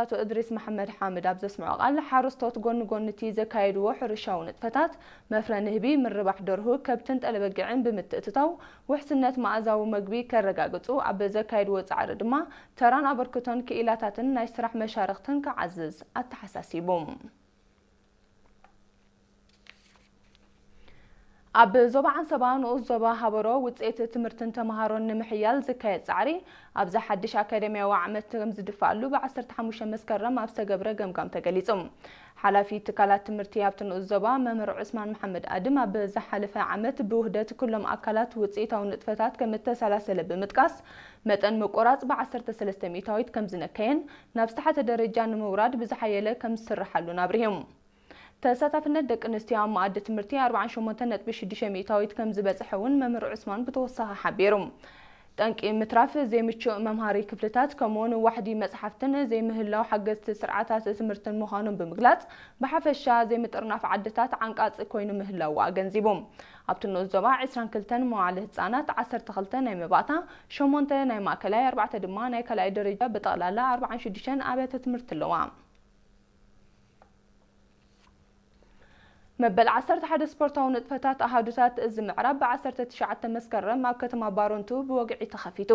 ኣቶ እድሪስ መሓመድ ሓምድ ኣብ ዘስምዖ ቃል፣ ሓረስቶት ጎኒ ጎኒ እቲ ዘካየድዎ ሕርሻዊ ንጥፈታት፣ መፍረ ንህቢ፣ ምርባሕ ደርሁ፣ ከብትን ጠለበጊዕን ብምትእትታው፣ ውሕስነት መኣዛዊ መግቢ ከረጋግጹ፣ ኣብ ዘካየድዎ ጻዕሪ ድማ ተራን ኣበርክቶን ክኢላታትን ናይ ስራሕ መሻርኽትን ክዓዝዝ ኣተሓሳሲቡ። ኣብ ዞባ ዓንሰባ ንኡስ ዞባ ሃበሮ ውፅኢት ትምህርትን ተምሃሮን ንምሕያል ዝካየድ ጻዕሪ ኣብዚ ሓድሽ ኣካዳሚያዊ ዓመት ከም ዝድፋኣሉ ብ15 መስከረም ኣብ ዝተገብረ ገምጋም ተገሊጹ። ሓላፊ ትካላት ትምህርቲ ኣብቲ ንኡስ ዞባ መምህር ዑስማን መሓመድ ኣድም ኣብ ዝሓለፈ ዓመት ብውህደት ኩሎም ኣካላት ውፅኢታዊ ንጥፈታት ከም እተሰላሰለ ብምጥቃስ መጠን ምቁራፅ ብ13 ሚእታዊት ከም ዝነከየን ናብ ዝተሓተ ደረጃ ንምውራድ ብዝሓየለ ከም ዝስርሓሉን ኣብሪሁ። ተሳታፍነት ደቂ ኣንስትዮ ኣብ መኣዲ ትምህርቲ ኣርባዓን ሸሞንተን ነጥቢ ሽዱሽተ ሚእታዊት ከም ዝበጽሐ እውን መምህር ዑስማን ብተወሳኺ ሓቢሩ። ጠንቂ ምትራፍ ዘይምቹእ መምሃሪ ክፍልታት ከምኡውን ዋሕዲ መጽሓፍትን ዘይምህላው ሓገዝቲ ስርዓታት ትምህርትን ምዃኑን ብምግላጽ፣ ብሓፈሻ ዘይምጥርናፍ ዓድታት ዓንቃጺ ኮይኑ ምህላዉ ኣገንዚቡ። ኣብቲ ንኡስ ዞባ ዕስራን ክልተን መዋዕለ ህጻናት፣ ዓሰርተ ክልተ ናይ መባእታ፣ ሸሞንተ ናይ ማእከላይ፣ ኣርባዕተ ድማ ናይ ካልኣይ ደረጃ ብጠቕላላ ኣርባዓን ሽዱሽተን ኣብያተ ትምህርቲ ኣለዋ። መበል ዓሰርተ ሓደ ስፖርታዊ ንጥፈታት ኣሃዱታት እዚ ምዕራብ ብ19 መስከረም ኣብ ከተማ ባረንቱ ብወግዒ ተኸፊቱ።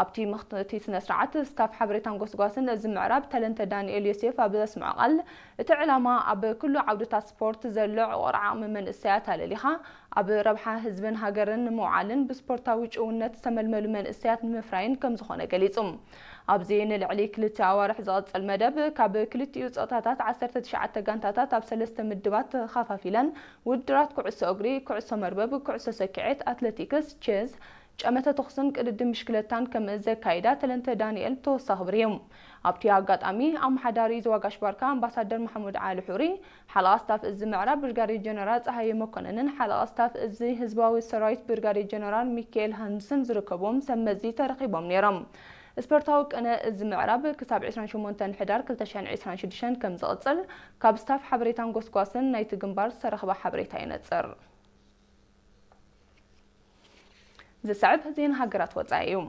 ኣብቲ መኽፈቲ ስነ ስርዓት ስታፍ ሓበሬታን ጎስጓስን እዚ ምዕራብ ተለንተ ዳንኤል ዮሴፍ ኣብ ዘስምዖ ቃል፣ እቲ ዕላማ ኣብ ኩሉ ዓውድታት ስፖርት ዘሎ ዕቑር ዓቕሚ መንእሰያት ኣለሊኻ ኣብ ረብሓ ህዝብን ሃገርን ንምውዓልን ብስፖርታዊ ጭውነት ዝተመልመሉ መንእሰያት ንምፍራይን ከም ዝኾነ ገሊጹ። ኣብዚ ንልዕሊ ክልተ ኣዋርሕ ዝቐጽል መደብ፣ ካብ ክልቲኡ ጾታታት ዓሰርተ ትሽዓተ ጋንታታት ኣብ ሰለስተ ምድባት ተኸፋፊለን ውድድራት ኩዕሶ እግሪ፣ ኩዕሶ መርበብ፣ ኩዕሶ ሰኪዔት፣ ኣትለቲክስ፣ ቼዝ፣ ጨመተ ተኹስን ቅድድም ብሽክለታን ከም ዘካይዳ ተለንተ ዳንኤል ብተወሳኺ ኣብሪሁ። ኣብቲ ኣጋጣሚ፣ ኣመሓዳሪ ዞባ ጋሽ ባርካ ኣምባሳደር መሓሙድ ዓሊ ሑሪ፣ ሓለቓ ስታፍ እዚ ምዕራብ ብርጋዴር ጀነራል ጸሃየ መኮነንን ሓለቓ ስታፍ እዚ ህዝባዊ ሰራዊት ብርጋዴር ጀነራል ሚካኤል ሃንስን ዝርከብዎም ሰብ መዚ ተረኺቦም ነይሮም። ስፖርታዊ ቅነ እዚ ምዕራብ ክሳብ ዕስራን ሸሞንተን ሕዳር ክልተ ሽሕን ዕስራን ሽዱሽተን ከም ዝቕጽል ካብ ስታፍ ሓበሬታን ጎስጓስን ናይቲ ግንባር ዝተረኽበ ሓበሬታ የነጽር። ዝስዕብ ዜና ሃገራት ወጻኢ እዩ።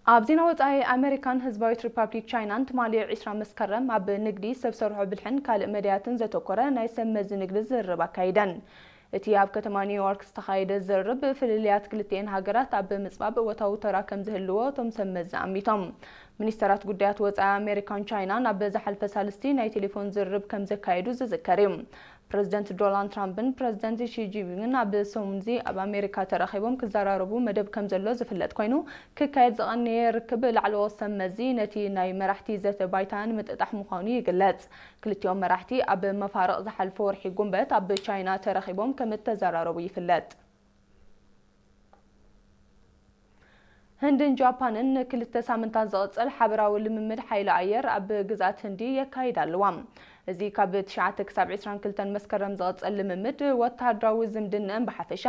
ኣብ ዜና ወጻኢ፣ ኣመሪካን ህዝባዊት ሪፓብሊክ ቻይናን ትማሊ ዕስራ መስከረም ኣብ ንግዲ፣ ሰብ ሰርሖ ብልሕን ካልእ መዳያትን ዘተኮረ ናይ ሰብ መዚ ንግዲ ዝርርብ ኣካይደን። እቲ ኣብ ከተማ ኒውዮርክ ዝተኻየደ ዝርርብ፣ ፍልልያት ክልቲኤን ሃገራት ኣብ ምጽባብ እወታዊ ተራ ከም ዝህልዎ እቶም ሰብ መዚ ኣሚቶም። ሚኒስተራት ጉዳያት ወጻኢ ኣሜሪካን ቻይናን ኣብ ዝሓለፈ ሳልስቲ ናይ ቴሌፎን ዝርርብ ከም ዘካየዱ ዝዝከር እዩ። ፕረዚደንት ዶናልድ ትራምፕን ፕረዚደንት ሺ ጂንፒንግን ኣብ ሰሙንዚ ኣብ ኣሜሪካ ተራኺቦም ክዘራረቡ መደብ ከም ዘሎ ዝፍለጥ ኮይኑ፣ ክካየድ ዝቐነየ ርክብ ላዕለዎት ሰብ መዚ ነቲ ናይ መራሕቲ ዘተ ባይታ ንምጥጣሕ ምዃኑ ይግለጽ። ክልቲኦም መራሕቲ ኣብ መፋርቕ ዝሓለፈ ወርሒ ጉንበት ኣብ ቻይና ተራኺቦም ከም እተዘራረቡ ይፍለጥ። ህንድን ጃፓንን ንክልተ ሳምንታት ዝቕጽል ሓበራዊ ልምምድ ሓይሊ ኣየር ኣብ ግዝኣት ህንዲ የካይዳ ኣለዋ። እዚ ካብ ትሽዓተ ክሳብ ዕስራን ክልተን መስከረም ዝቕጽል ልምምድ፣ ወተሃደራዊ ዝምድናኣን ብሓፈሻ፣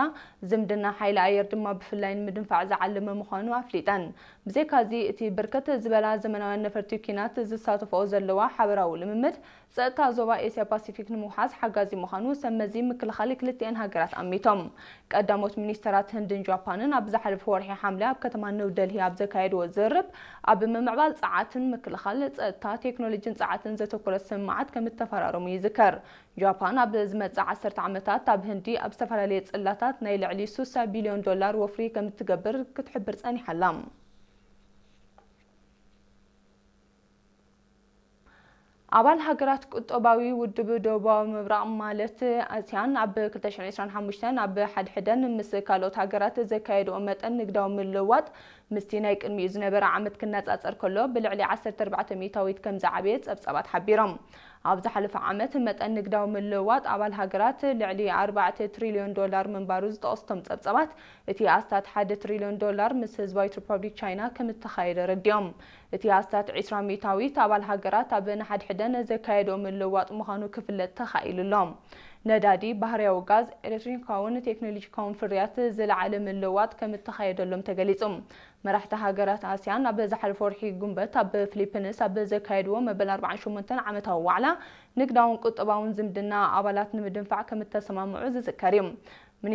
ዝምድና ሓይሊ ኣየር ድማ ብፍላይ ንምድንፋዕ ዝዓለመ ምዃኑ ኣፍሊጠን። ብዘይካዚ፣ እቲ ብርክት ዝበላ ዘመናውያን ነፈርቲ ኲናት ዝሳተፍኦ ዘለዋ ሓበራዊ ልምምድ፣ ጸጥታ ዞባ ኤስያ ፓሲፊክ ንምውሓስ ሓጋዚ ምዃኑ ሰብ መዚ ምክልኻል ክልቲኤን ሃገራት ኣሚቶም። ቀዳሞት ሚኒስተራት ህንድን ጃፓንን ኣብ ዝሓለፈ ወርሒ ሓምለ ኣብ ከተማ ኒው ደልሂ ኣብ ዘካየድዎ ዝርርብ፣ ኣብ ምምዕባል ጸዓትን ምክልኻል፣ ጸጥታ፣ ቴክኖሎጂን ጸዓትን ዘተኮረ ስምምዓት ከም እተፈራረሙ ይዝከር። ጃፓን ኣብ ዝመጽእ ዓሰርተ ዓመታት ኣብ ህንዲ ኣብ ዝተፈላለየ ጽላታት ናይ ልዕሊ ስሳ ቢልዮን ዶላር ወፍሪ ከም እትገብር ክትሕብር ጸኒሓ ኣላ። ኣባል ሃገራት ቁጠባዊ ውድብ ደቡባዊ ምብራቕ ማለት ኣስያን ኣብ ክልተ ሽሕን ዕስራን ሓሙሽተን ኣብ ሓድሕደን ምስ ካልኦት ሃገራት ዘካየድኦ መጠን ንግዳዊ ምልውዋጥ ምስቲ ናይ ቅድሚኡ ዝነበረ ዓመት ክነጻጸር ከሎ ብልዕሊ ዓሰርተ ኣርባዕተ ሚእታዊት ከም ዝዓበየ ጸብጻባት ሓቢሮም። ኣብ ዝሓለፈ ዓመት መጠን ንግዳዊ ምልውዋጥ ኣባል ሃገራት ልዕሊ ኣርባዕተ ትሪልዮን ዶላር ምንባሩ ዝጠቐሱ እቶም ጸብጻባት፣ እቲ ኣስታት ሓደ ትሪልዮን ዶላር ምስ ህዝባዊት ሪፓብሊክ ቻይና ከም እተኻየደ ኣረዲኦም። እቲ ኣስታት ዕስራ ሚእታዊት ኣባል ሃገራት ኣብ ንሓድሕደን ዘካየድኦ ምልውዋጥ ምዃኑ ክፍለጥ ተኻኢሉ ኣሎ። ነዳዲ፣ ባህርያዊ ጋዝ፣ ኤሌክትሮኒካውን ቴክኖሎጂካውን ፍርያት ዝለዓለ ምልውዋጥ ከም እተኻየደሎም ተገሊጹ። መራሕቲ ሃገራት ኣስያን ኣብ ዝሓለፈ ወርሒ ጉንበት ኣብ ፊሊፒንስ ኣብ ዘካየድዎ መበል ኣርባዓን ሸሞንተን ዓመታዊ ዋዕላ፣ ንግዳውን ቁጠባውን ዝምድና ኣባላት ንምድንፋዕ ከም እተሰማምዑ ዝዝከር እዩ።